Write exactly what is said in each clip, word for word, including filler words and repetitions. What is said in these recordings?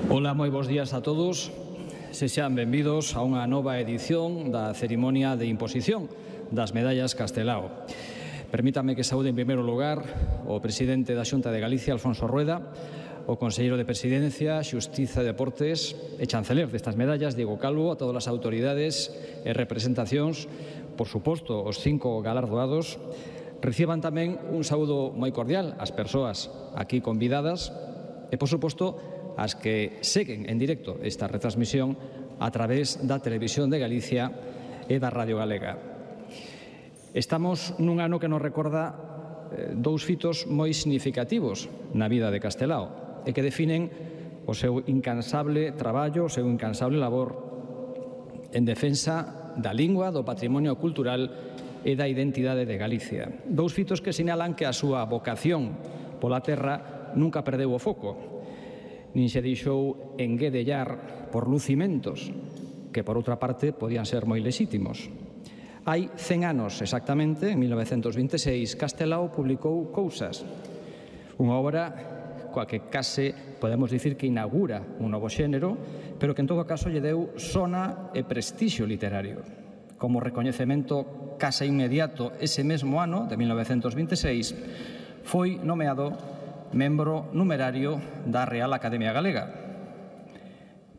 Ola, moi bons días a todos. Sexan benvidos a unha nova edición da cerimonia de imposición das medallas Castelao. Permítame que saúde en primeiro lugar o presidente da Xunta de Galicia, Alfonso Rueda, o conselleiro de Presidencia, Xustiza e Deportes e chanceler destas medallas, Diego Calvo, a todas as autoridades e representacións, por suposto, os cinco galardoados. Reciban tamén un saúdo moi cordial ás persoas aquí convidadas e, por suposto, as que seguen en directo esta retransmisión a través da Televisión de Galicia e da Radio Galega. Estamos nun ano que nos recorda dous fitos moi significativos na vida de Castelao e que definen o seu incansable traballo, o seu incansable labor en defensa da lingua, do patrimonio cultural e da identidade de Galicia. Dous fitos que sinalan que a súa vocación pola terra nunca perdeu o foco, nin se deixou enguedellar por lucimentos que, por outra parte, podían ser moi lexítimos. Hai cen anos exactamente, en mil novecentos vinte e seis, Castelao publicou Cousas, unha obra coa que case podemos dicir que inaugura un novo xénero, pero que en todo caso lle deu sona e prestixio literario. Como recoñecemento case inmediato ese mesmo ano, de mil novecentos vinte e seis, foi nomeado membro numerario da Real Academia Galega.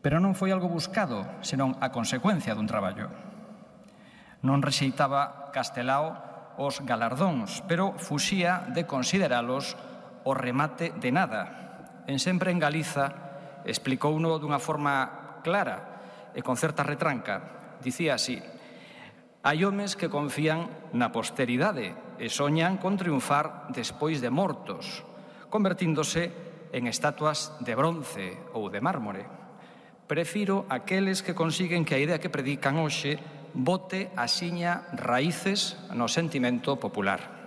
Pero non foi algo buscado, senón a consecuencia dun traballo. Non rexeitaba Castelao os galardóns, pero fuxía de consideralos o remate de nada. En Sempre en Galiza explicouno dunha forma clara e con certa retranca. Dicía así: hai homes que confían na posteridade e soñan con triunfar despois de mortos, convertíndose en estatuas de bronce ou de mármore. Prefiro aqueles que consiguen que a idea que predican hoxe bote axiña raíces no sentimento popular.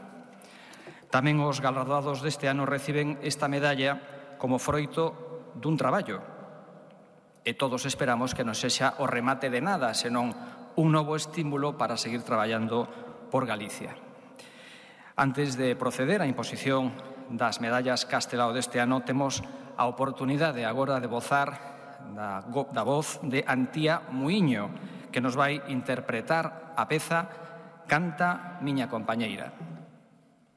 Tamén os galardoados deste ano reciben esta medalla como froito dun traballo. E todos esperamos que non sexa o remate de nada, senón un novo estímulo para seguir traballando por Galicia. Antes de proceder á imposición das medallas Castelao deste ano, temos a oportunidade agora de vozar da, da voz de Antía Muiño, que nos vai interpretar a peza Canta miña compañeira.